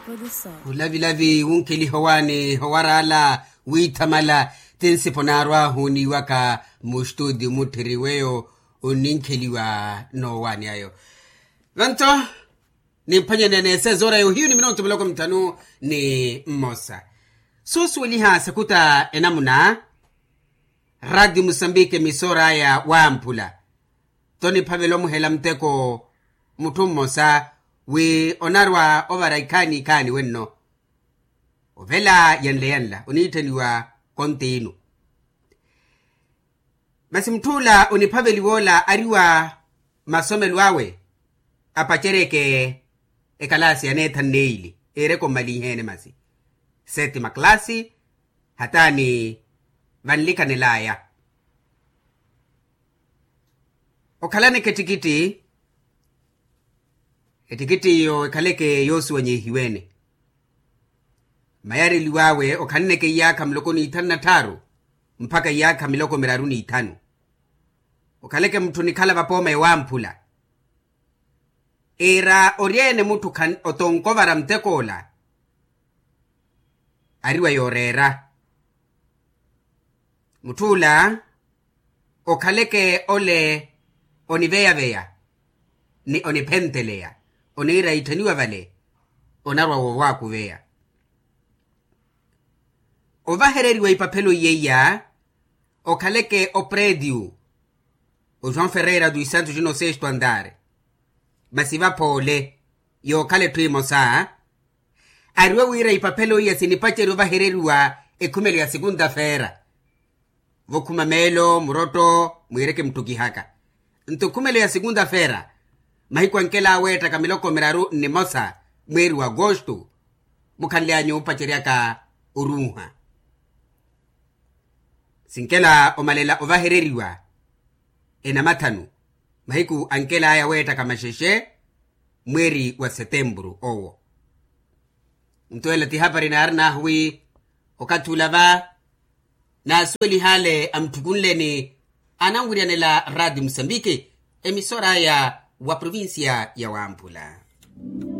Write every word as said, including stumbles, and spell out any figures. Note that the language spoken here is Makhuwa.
Khulavilavi wunkheliha owaani owar'ala, wiithamala. Ti nsipo naarwahu niiwaka mustutio mutthiri weyo onninkheliwa n'owaani ayo. Vanto nimphwanyanene sezora yohiyu ni minonto miloko mithanu ni mmosa. Suusuweliha sakuta enamuna. Rati musambiki emisora aya wamphula. Toni phavela omuhela muteko mutthu mmosa wi onarwa ovara ikhaani ikhaani wenno. Ovela yanle yanla oniitthaniwa kontiinu. Masi mutth'ula oniphaveliwa ola ari wa masomelo awe apaceryeke ekalaasi ya neethanu n'eyili. Eereke ommalinheene masi seti makalaasi hataani vanlikanel'aya. Okhalaneke ettikitthi ettikitthi eyo ekhaleke yoosuwanyehiwene. Mayareliw'awe okhalneke iyaakha miloko n'ithanu na tthaaru mpakha iyaakha miloko miraru n'ithanu. Okhaleke mutthu onikhala vapooma ewamphula. Iira ori-ene mutthu otonkovara mutek'ola ari wa yooreera. Mutth'ula okhaleke ole oniveyaveya ni oniphentteleya oniira itthaniwa vale onarwa woowakuveya. Ovahereriwa ipaphelo iyeiya okhaleke opretiu o joão ferreira dos santos no sexto andar. Masi vaphoole yookhala etthu emosa. Ariwe wira ipaphelo iya sinipaceriwa ovahereriwa ekhumelo ya sikuntafeera. Vokhuma meelo murotto mwiireke muttukihaka. Nto ekhumelo ya sikuntafeera mahiku ankela aweettaka miloko miraru nnimosa mweeri wa agosto mukhanly'anyu opaceryaka oruuha. Sinkela omalela ovahereriwa enamathanu mahiku ankel'aya weettaka maxexe mweeri wa setempuru owo. Nto ela ti hapari naarin'ahu wi okathi ula va naasuweliha ale amutthukunleni ananwiryanela rati musambiki emisora aya wa provincia ya wamphula.